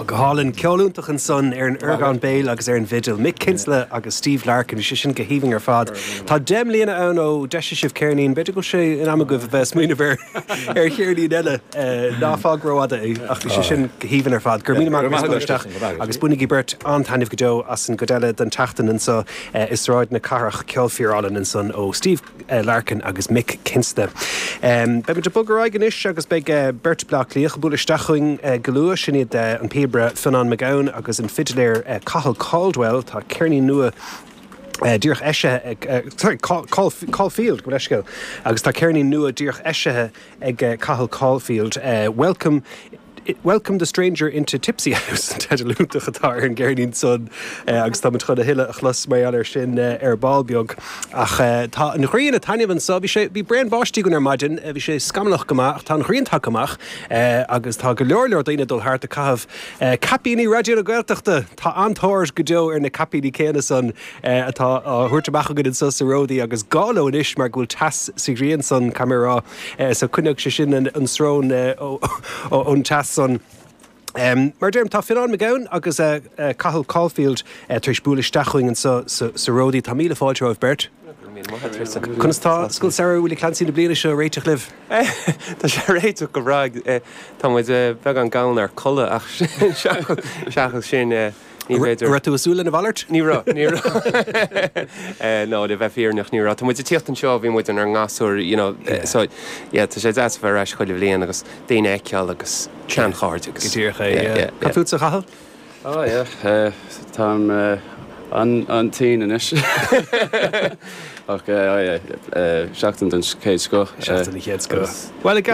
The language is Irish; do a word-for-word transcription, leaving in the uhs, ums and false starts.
Go hálainn ceol iontach ansan ar an orgán béil agus ar an bhfidil. Mick Kinsella agus Steve Larkin sé sin go haoibhinn ar fad. Tá deich mbliana ann ó d'eisigh sibh ceirnín, b'fhéidir go sé in am agaibh a bheith smaoineamh ar ar cheirnín eile ná fág rófhada é ach bhí sé sin go haoibhinn ar fad. Gur mí isteach agus bainigí beirt an-taitneamh go deo as an gcuid eile den tseachtain anseo i Sráid na Cathrach ceol fíorálainn ansan ó Steve Larkin agus Mick Kinsella. Um, Beimid ag bogadh ar aghaidh anois agus beidh beirt Bleá Cliath ag bualadh isteach chugainn go luath sin iad an píobaire Fionnán Mac Gabhann agus an fidléir Cathal Caldwell tá ceirnín nua Uh, díreach eisithe uh, sorry, Caulfield go leiscéil agus tá ceirnín nua díreach eisithe ag uh, Cathal Caulfield. Uh, welcome Welcome the stranger into Tipsy House teideal iontach atá ar an gceirnín san uh, agus tá chun a thuilleadh a chlos mar ar sin uh, ar ball beag ach uh, tá an ghrian ag taitneamh anseo bhí sé bhí braon báistí againn ar maidin bhí sé scamallach go maith tá an ghrian tagtha amach agus tá go leor leor daoine dul thart ag caitheamh caipíní Raidió na Gaeltachta tá an-tóir go deo ar na caipíní céanna san atá á thabhairt amach againn anseo sa Ródaí agus gá leo anois mar go bhfuil teas sa ghrian san camerá so coinneoidh sé sin an srón ón teas san. Um, mar deirim tá Fionnán Mac Gabhann agus uh, uh, Cathal Caulfield uh, tar éis bualadh isteach chugainn anseo sa, sa Ródaí tá míle fáilte romhaibh beirt. Conas tá Scoil Samhraidh Willie Clancy na bliana seo réiteach libh? Tá sé réiteach go breá Tá muid beagán gann ar chodladh ach seachas sin ní féidir. Raibh tú ag súil lena mhalairt? Ní raibh ní nó le bheith fírinneach ní raibh Tá muid tíocht anseo bhí muid ar ngasúr you know, so yeah, tá sé deas bheith ar ais chuile bhliain agus daoine a fheiceáil agus seanchairde agus. Go díreach é. Cad fútsa a Chathail? Oh yeah, Táim an an tinn anois. Ach seachtain den chéad scoth. Seachtain den chéad scoth. Well ag